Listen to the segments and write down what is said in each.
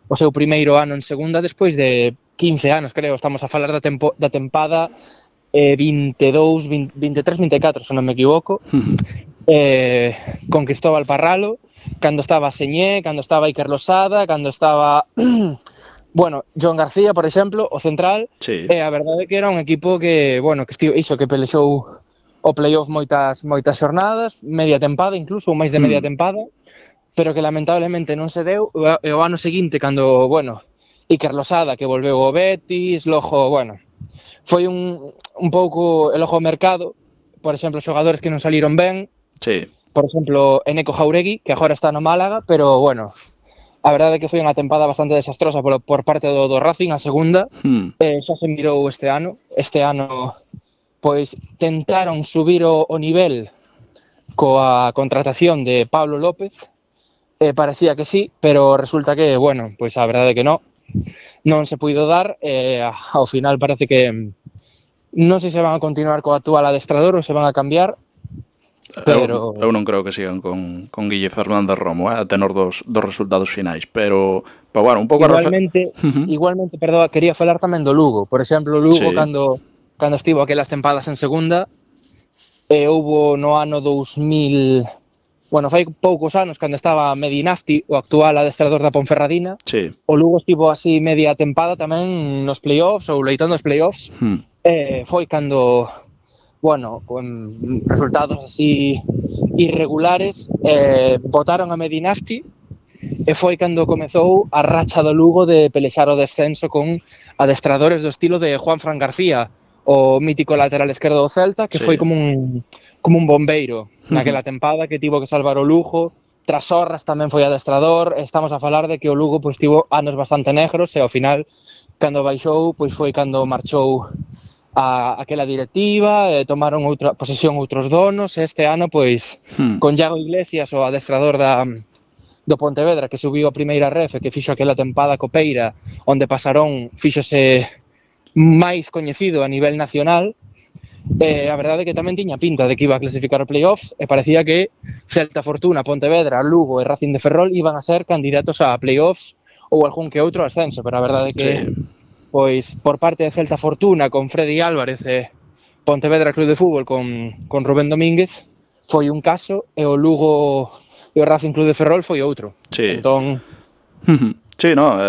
o seu primeiro ano en segunda despois de 15 anos, creo. Estamos a falar da tempada 22, 20, 23, 24, se non me equivoco. Con Cristóbal Parralo, cando estaba Señé, cando estaba Iker Losada, cando estaba bueno, Joan García, por exemplo, o central. Sí. A verdade é que era un equipo que, bueno, que que pelexou o playoff moitas xornadas, media tempada incluso, ou máis de media tempada, pero que lamentablemente non se deu. E o ano seguinte, cando, bueno, Iker Losada, que volveu ao Betis, logo, bueno, foi un pouco el ojo ao mercado, por exemplo, xogadores que non saliron ben, Sí. por exemplo, Eneco Jauregui, que agora está no Málaga, pero, bueno, a verdade é que foi unha tempada bastante desastrosa por parte do Racing, a segunda. Xa se mirou este ano. Este ano, pois, tentaron subir o nivel coa contratación de Pablo López, parecía que sí, pero resulta que, bueno, pois a verdade é que non se puido dar. Ao final parece que non sei se van a continuar co actual adestrador ou se van a cambiar, pero eu non creo que sigan con Guille Fernández Romo, a tenor dos resultados finais, pero bueno, un pouco igualmente, perdón, quería falar tamén do Lugo. Por exemplo, o Lugo, sí, cando estivo aquelas tempadas en segunda, houbo no ano 2000, bueno, fai poucos anos, cando estaba Medinafti, o actual adestrador da Ponferradina, sí. o Lugo estivo así media tempada tamén nos playoffs, ou leitando os playoffs. Foi cando, bueno, con resultados así irregulares, botaron a Medinafti, e foi cando comezou a racha do Lugo de pelexar o descenso con adestradores do estilo de Juanfran García, o mítico lateral esquerdo do Celta, que foi como un bombeiro naquela tempada, que tivo que salvar o Lugo. Tras Horras tamén foi adestrador. Estamos a falar de que o Lugo pois tivo anos bastante negros, e ao final, cando baixou, pois foi cando marchou aquela directiva, tomaron outra posesión outros donos, e este ano, pois, con Iago Iglesias, o adestrador do Pontevedra, que subiu a primeira ref e que fixo aquela tempada copeira, onde Pasarón fíxose máis coñecido a nivel nacional. A verdade é que tamén tiña pinta de que iba a clasificar o playoffs, e parecía que Celta, Fortuna, Pontevedra, Lugo e Racing de Ferrol iban a ser candidatos a playoffs ou algún que outro ascenso, pero a verdade é que pois por parte de Celta Fortuna, con Freddy Álvarez e Pontevedra Club de Fútbol con Rubén Domínguez, foi un caso, e o Lugo e o Racing Club de Ferrol foi outro. Entón, sí, no,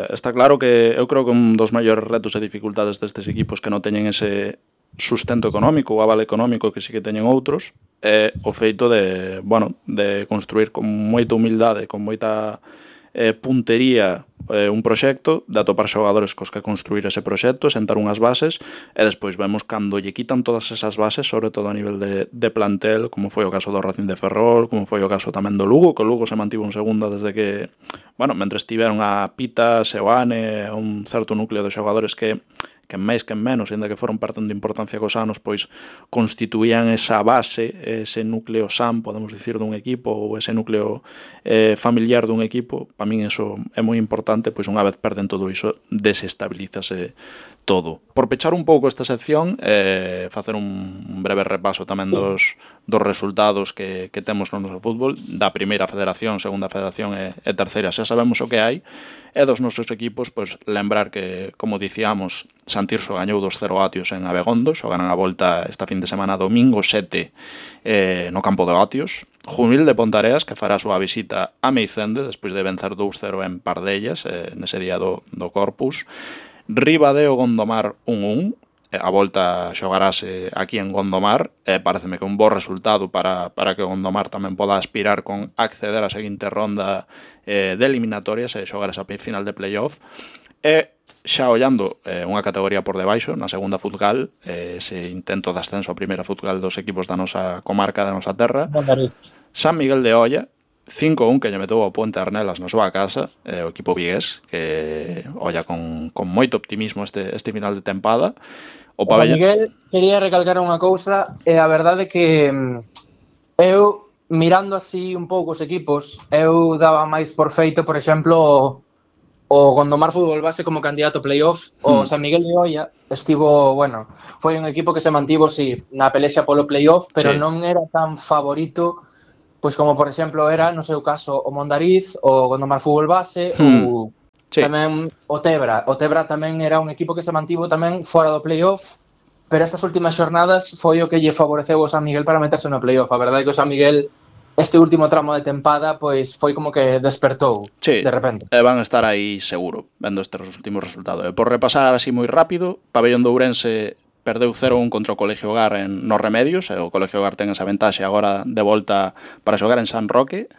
está claro que eu creo que un dos maiores retos e dificultades destes equipos que non teñen ese sustento económico ou aval económico que sí que teñen outros é o feito de, bueno, de construir con moita humildade, con moita puntería un proxecto, de atopar xogadores cos que construir ese proxecto, sentar unhas bases, e despois vemos cando lle quitan todas esas bases, sobre todo a nivel de plantel, como foi o caso do Racing de Ferrol, como foi o caso tamén do Lugo, que o Lugo se mantivo en segunda desde que, bueno, mentre estiveron a Pita, Seoane, un certo núcleo de xogadores que máis que en menos, ainda que foron perdendo importancia cos anos, pois constituían esa base, ese núcleo san, podemos dicir, dun equipo, ou ese núcleo familiar dun equipo. Para min iso é moi importante, pois unha vez perden todo iso, desestabilízase todo. Por pechar un pouco esta sección, facer un breve repaso tamén dos resultados que temos no noso fútbol, da primeira federación, segunda federación e terceira, xa sabemos o que hai, e dos nosos equipos, pois lembrar que, como dicíamos, Santirso gañou 2-0 Atios en Abegondo, xogarán a volta esta fin de semana domingo 7 no campo de Atios. Jumil de Pontareas, que fará a súa visita a Meicende despois de vencer 2-0 en Pardellas nese día do Corpus. Ribadeo Gondomar 1-1, a volta xogarase aquí en Gondomar, pareceme que un bo resultado para que Gondomar tamén poda aspirar con acceder á seguinte ronda de eliminatorias e xogar esa final de playoff. E xa ollando unha categoría por debaixo, na segunda Futgal, ese intento de ascenso a primeira Futgal dos equipos da nosa comarca, da nosa terra, San Miguel de Olla 5-1 que lle meteu ao Puente Arnelas na súa casa, o equipo vigués, que olla con moito optimismo este final de tempada. O Miguel, quería recalcar unha cousa, e a verdade que eu, mirando así un pouco os equipos, eu daba máis por feito, por exemplo, o Gondomar Fútbol Base como candidato a playoff. O San Miguel de Olla estivo, bueno, foi un equipo que se mantivo, sí, na pelexa polo playoff, pero non era tan favorito, pois como, por exemplo, era, no seu caso, o Mondariz, o Gondomar Fútbol Base, ou Sí. Tamén o Tebra tamén era un equipo que se mantivo tamén fora do playoff, pero estas últimas xornadas foi o que lle favoreceu ao San Miguel para meterse no playoff. A verdade é que o San Miguel este último tramo de tempada pois foi como que despertou de repente. Van a estar aí seguro, vendo estes últimos resultados. Por repasar así moi rápido, Pabellón de Ourense perdeu 0-1 contra o Colegio Gar nos Remedios, e o Colegio Gar ten esa ventaxe agora de volta para xogar en San Roque.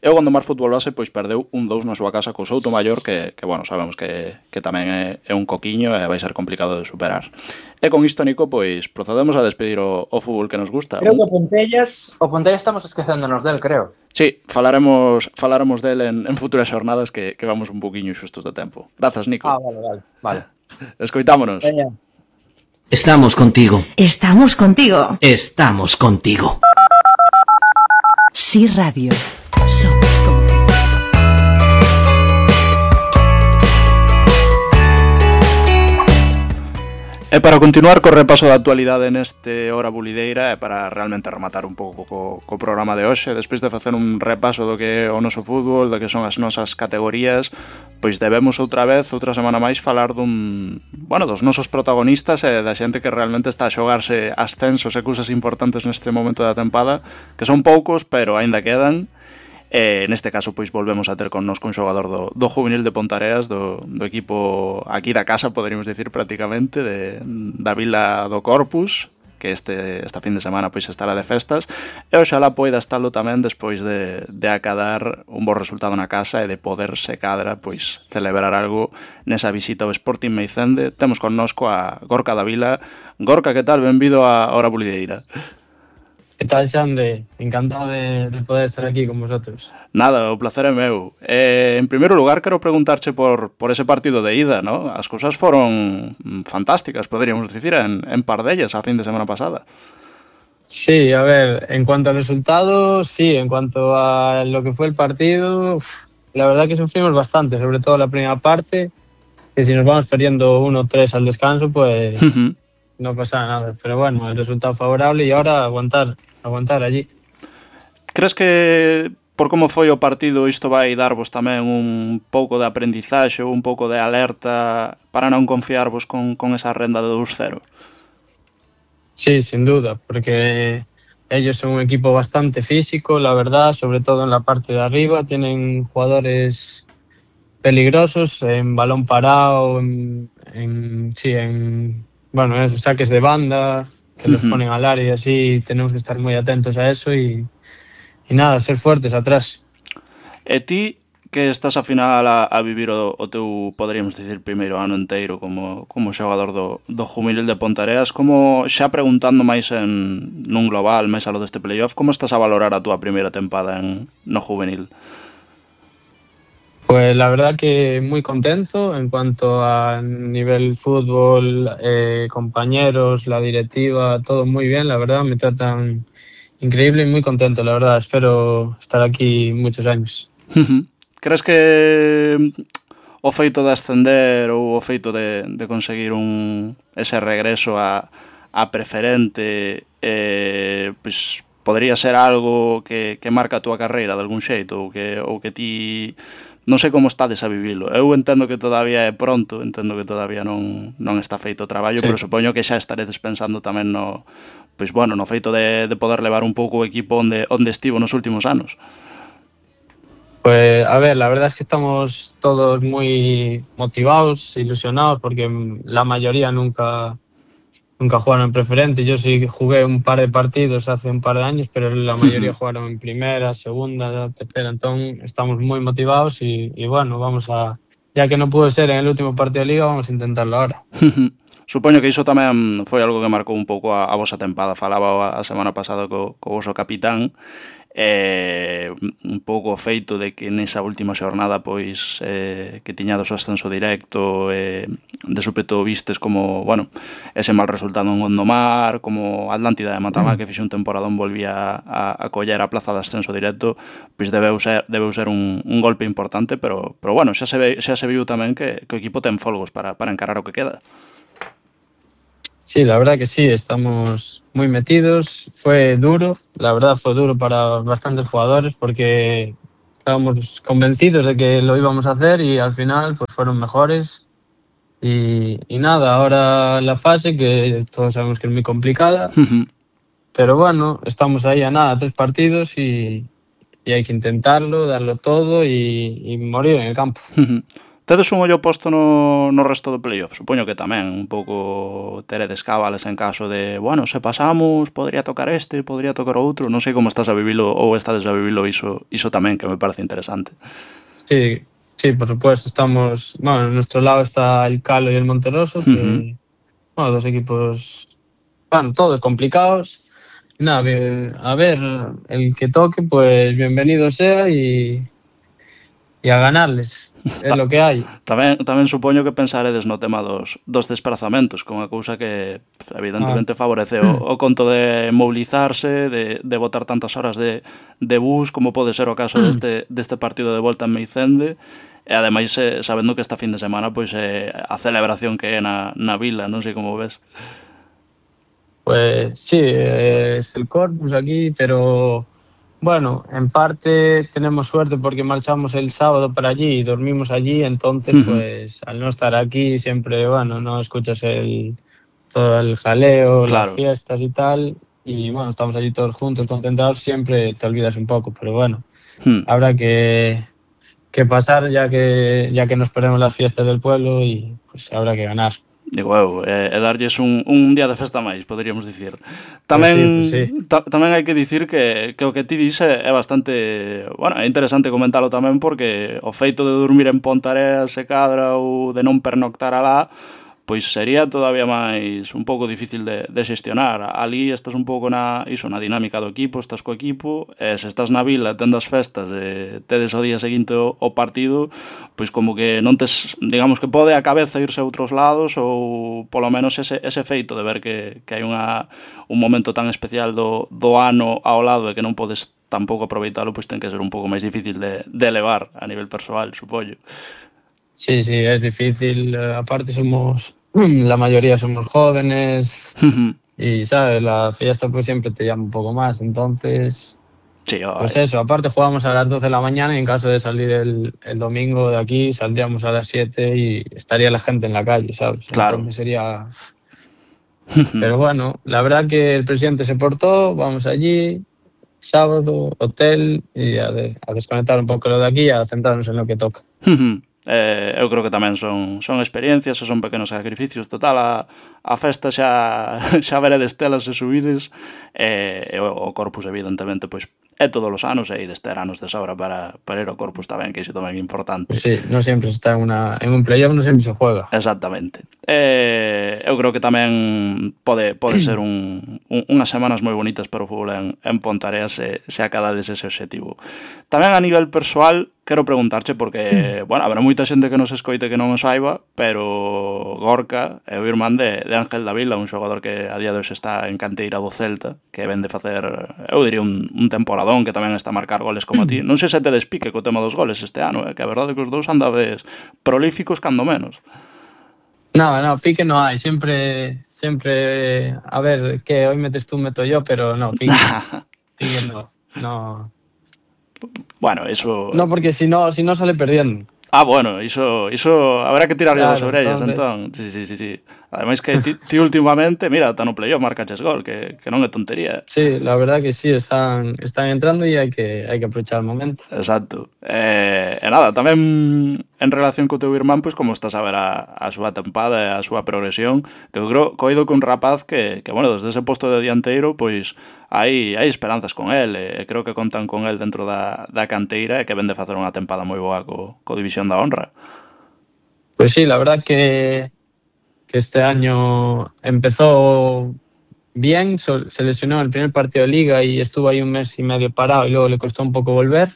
E o Gondomar Fútbol Base pois perdeu 1-2 na súa casa co Soutomaior, que bueno, sabemos que tamén é un coquiño e vai ser complicado de superar. E con isto, Nico, pois procedemos a despedir o fútbol que nos gusta. Creo que o Pontellas estamos esquecéndonos del, creo. Sí, falaremos del en futuras xornadas que vamos un poquinho xustos de tempo. Grazas, Nico. Vale. Escoitámonos. Veña. Estamos contigo. Estamos contigo. Estamos contigo. Sí Radio. Somos como tú. E para continuar co repaso da actualidade neste Hora Bulideira e para realmente rematar un pouco co programa de hoxe, despois de facer un repaso do que é o noso fútbol, do que son as nosas categorías, pois debemos outra semana máis falar dos nosos protagonistas e da xente que realmente está a xogarse ascensos e cousas importantes neste momento da tempada, que son poucos, pero aínda quedan. Neste caso, pois volvemos a ter connosco un xogador do juvenil de Pontareas, do equipo aquí da casa, poderíamos dicir prácticamente, da Vila do Corpus, que esta fin de semana pois estará de festas, e oxalá poida estalo tamén despois de acadar un bo resultado na casa e de poderse cadra pois celebrar algo nesa visita ao Sporting Meicende. Temos connosco a Gorka da Vila. Gorka, que tal? Benvido a Hora Bulideira. Que tal, Xande? Encantado de poder estar aquí con vosotros. Nada, o placer é meu. En primeiro lugar, quero preguntarche por ese partido de ida, ¿no? As cousas foron fantásticas, poderíamos dicir, en Pardellas a fin de semana pasada. Sí, a ver, en cuanto al resultado, sí, en cuanto a lo que fue el partido, la verdad que sufrimos bastante, sobre todo la primera parte, que si nos vamos perdiendo 1-3 al descanso, pues no pasa nada. Pero bueno, el resultado favorable y ahora aguantar allí. Crees que por como foi o partido isto vai darvos tamén un pouco de aprendizaxe ou un pouco de alerta para non confiarvos con esa renda de 2-0? Sí, sin duda, porque ellos son un equipo bastante físico, la verdad, sobre todo en la parte de arriba. Tienen jugadores peligrosos en balón parado, en saques de banda, que los ponen al área y así. Tenemos que estar muy atentos a eso y nada, ser fuertes atrás. E ti, que estás a final a vivir o teu, poderíamos dicir, primeiro ano inteiro como xogador do juvenil de Pontareas, como xa preguntando máis nun global, máis a lo deste playoff, como estás a valorar a túa primeira tempada no juvenil? Pues la verdad que muy contento en cuanto a nivel fútbol, compañeros, la directiva, todo muy bien, la verdad, me tratan increíble y muy contento, la verdad. Espero estar aquí muchos años. Crees que o feito de ascender ou o feito de conseguir ese regreso a preferente pois podría ser algo que marca a túa carreira de algún xeito ou que ti non sei como estades a vivilo. Eu entendo que todavía é pronto, entendo que todavía non está feito o traballo, sí. Pero supoño que xa estaredes pensando tamén no feito de poder levar un pouco o equipo onde estivo nos últimos anos. Pues a ver, la verdad es que estamos todos muy motivados, ilusionados, porque la mayoría nunca jugaron en preferente. Yo sí jugué un par de partidos hace un par de años, pero la mayoría jugaron en primera, segunda, tercera. Entonces estamos muy motivados y bueno, ya que no pudo ser en el último partido de Liga, vamos a intentarlo ahora. Supoño que iso tamén foi algo que marcou un pouco a vosa tempada. Falaba a semana pasada co voso capitán, un pouco o feito de que nesa última xornada pois que tiñades o ascenso directo, de súpeto vistes como, ese mal resultado en Gondomar, como Atlántida de Matamá, que fixe un temporadón, volvía a coller a plaza de ascenso directo, pois debeu ser un golpe importante, pero xa se viu tamén que o equipo ten folgos para encarar o que queda. Sí, la verdad que sí, estamos muy metidos. Fue duro, la verdad fue duro para bastantes jugadores porque estábamos convencidos de que lo íbamos a hacer y al final pues fueron mejores. Y nada, ahora la fase, que todos sabemos que es muy complicada, pero bueno, estamos ahí a nada, 3 partidos y hay que intentarlo, darlo todo y morir en el campo. Tedes un ollo posto no resto do playoff? Supoño que tamén, un pouco teredes cábales en caso de, bueno, se pasamos, podría tocar este, podría tocar outro, non sei como estás a vivilo ou estades a vivilo iso tamén, que me parece interesante. Sí, sí, por supuesto, estamos, bueno, en nuestro lado está el Calo y el Monterroso, que, bueno, 2 equipos, bueno, todos complicados. Nada, a ver, el que toque, pues bienvenido sea y a ganarles, é lo que hai. Tamén supoño que pensaredes no tema dos desplazamentos, que é unha cousa que evidentemente favorece o conto de mobilizarse, de botar tantas horas de bus, como pode ser o caso deste partido de volta en Meicende, e ademais sabendo que esta fin de semana pois a celebración que é na vila, non sei como ves. Pues sí, es el Corpus aquí, pero bueno, en parte tenemos suerte porque marchamos el sábado para allí y dormimos allí, entonces pues al no estar aquí siempre, bueno, no escuchas todo el jaleo, Claro. las fiestas y tal, y bueno, estamos allí todos juntos, concentrados, siempre te olvidas un poco, pero bueno, habrá que pasar ya que nos perdemos las fiestas del pueblo y pues habrá que ganar. Digo, darlles un día de festa máis, poderíamos dicir. Tamén, Pues sí. Tamén hai que dicir que o que ti dis é bastante, bueno, é interesante comentalo tamén porque o feito de dormir en Pontareas se cadra ou de non pernoctar alá, pois sería todavía máis un pouco difícil de xestionar. Ali estás un pouco na dinámica do equipo, estás co equipo, e se estás na vila tendo as festas e tedes o día seguinte o partido, pois como que non tes, digamos que pode a cabeza irse a outros lados ou polo menos ese feito de ver que hai un momento tan especial do ano ao lado e que non podes tampouco aproveitalo, pois ten que ser un pouco máis difícil de elevar a nivel persoal, supoño. Sí, es difícil. Aparte la mayoría somos jóvenes y, ¿sabes? La fiesta pues siempre te llama un poco más. Entonces, sí, pues eso. Aparte jugamos a las 12 de la mañana y en caso de salir el domingo de aquí saldríamos a las 7 y estaría la gente en la calle, ¿sabes? Claro. Entonces sería... Pero bueno, la verdad que el presidente se portó, vamos allí, sábado, hotel y a desconectar un poco lo de aquí y a centrarnos en lo que toca. Eu creo que tamén son experiencias e son pequenos sacrificios. Total, a festa xa veredes telas e subides, e o Corpus evidentemente pois é todos os anos e ides ter anos de sobra para ir ao Corpus tamén, que iso tamén é importante. Sí, non sempre se está en un playoff, non sempre se juega. Exactamente. Eu creo que tamén pode ser unhas semanas moi bonitas para o fútbol en Pontareas se acadades ese obxectivo. Tamén a nivel persoal, quero preguntarche porque, bueno, habrá moita xente que nos escoite que non o saiba, pero Gorka é o irmán de Ángel Davila, un xogador que a día de hoxe está en canteira do Celta, que ven de facer, eu diría, un temporadón, que tamén está a marcar goles como a ti. Non sei se te despique co tema dos goles este ano, que a verdade é que os dous andades prolíficos cando menos. No, pique no hay, siempre, a ver, que hoy metes tú, meto yo, pero no, pique no. Bueno, eso... No, porque si no sale perdiendo. Ah, bueno, iso habrá que tirarlle das orellas, entonces... entón. Sí. Ademais que ti últimamente, mira, está no playoff, marcaches gol, que non é tontería. Sí, la verdad que sí, están entrando e hai que aprovechar o momento. Exacto. E nada, tamén en relación co teu irmán, pois como estás a ver a súa tempada e a súa progresión, que eu creo coido que un rapaz que bueno, desde ese posto de dianteiro, pois hai esperanzas con el, e creo que contan con el dentro da canteira e que ven de facer unha tempada moi boa co División da Honra. Pues sí, la verdad que este año empezó bien, se lesionó en el primer partido de Liga y estuvo ahí un mes y medio parado y luego le costó un poco volver,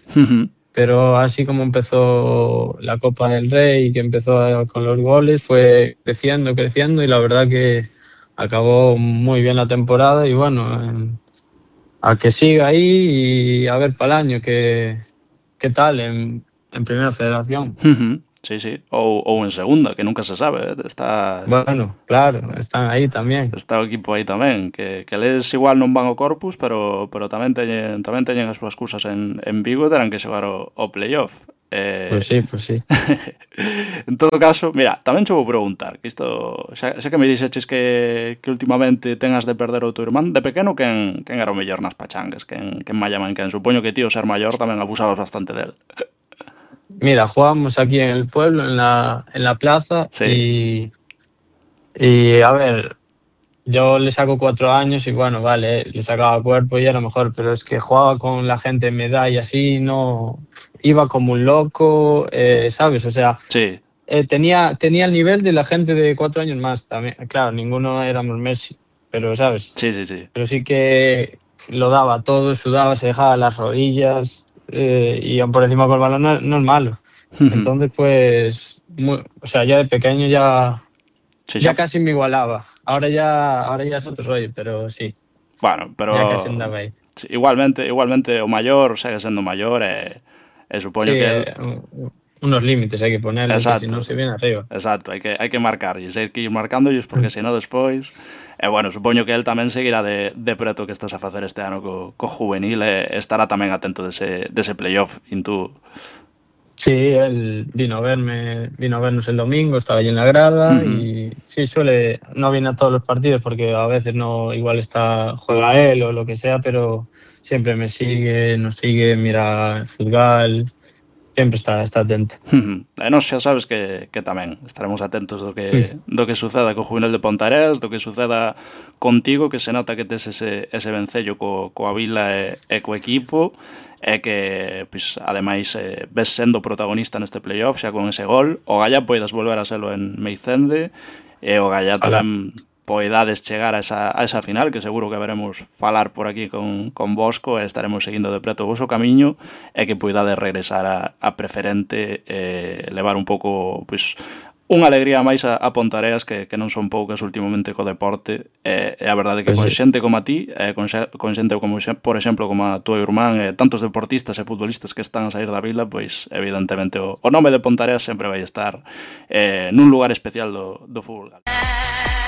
pero así como empezó la Copa del Rey, que empezó con los goles, fue creciendo y la verdad que acabó muy bien la temporada y bueno, a que siga ahí y a ver para el año qué tal en Primera Federación. Sí, sí. Ou en segunda, que nunca se sabe. Bueno, claro, están aí tamén. Está o equipo aí tamén, que les igual non van ao Corpus, pero tamén teñen as súas cousas en Vigo e terán que xogar o playoff. Pois sí. En todo caso, mira, tamén che vou preguntar, que isto, xa que me dixeches que últimamente tengas de perder o teu irmán, de pequeno quen era o mellor nas pachangas, quen mallaman quen? Supoño que tío ser maior tamén abusabas bastante del. Mira, jugábamos aquí en el pueblo, en la plaza, sí. y a ver, yo le saco 4 años y bueno, vale, le sacaba cuerpo y era mejor, pero es que jugaba con la gente de mi edad y así, no, iba como un loco, ¿sabes? O sea, sí. Tenía el nivel de la gente de 4 años más también. Claro, ninguno éramos Messi, pero ¿sabes? Sí. Pero sí que lo daba todo, sudaba, se dejaba las rodillas y aún por encima con el balón no es malo. Entonces, pues, o sea, ya de pequeño ya casi me igualaba. Ahora ya es otro rollo, pero sí. Bueno, pero ya casi andaba aí. Sí, igualmente o maior segue sendo maior e supoño que unos límites hai que ponerle, que si non se viene arriba. Exacto, hai que marcarlles, hai que ir marcándoles porque senón despois bueno, supoño que el tamén seguirá de preto que estás a facer este ano co juvenil e estará tamén atento dese playoff tú. Sí, él vino a vernos el domingo, estaba allí en la grada y sí, no viene a todos los partidos porque a veces no, igual juega él o lo que sea, pero siempre me sigue, nos sigue, mira el fútbol, sempre está atento. E nós xa sabes que tamén estaremos atentos do que suceda co Juvenil de Ponteareas, do que suceda contigo, que se nota que tes ese vencello coa vila e co equipo, e que, pois, ademais, ves sendo protagonista neste playoff xa con ese gol. O Gallá poidas volver a selo en Meicende, e o Gallá tamén poidades chegar a esa final, que seguro que veremos falar por aquí con Bosco e estaremos seguindo de preto o voso camiño, e que poidades regresar a preferente e levar un pouco, pois, unha alegría máis a Ponteareas que non son poucas últimamente co deporte e a verdade que con xente como a ti con xente como, por exemplo, como a túa irmán e tantos deportistas e futbolistas que están a sair da vila, pois evidentemente o nome de Ponteareas sempre vai estar nun lugar especial do fútbol.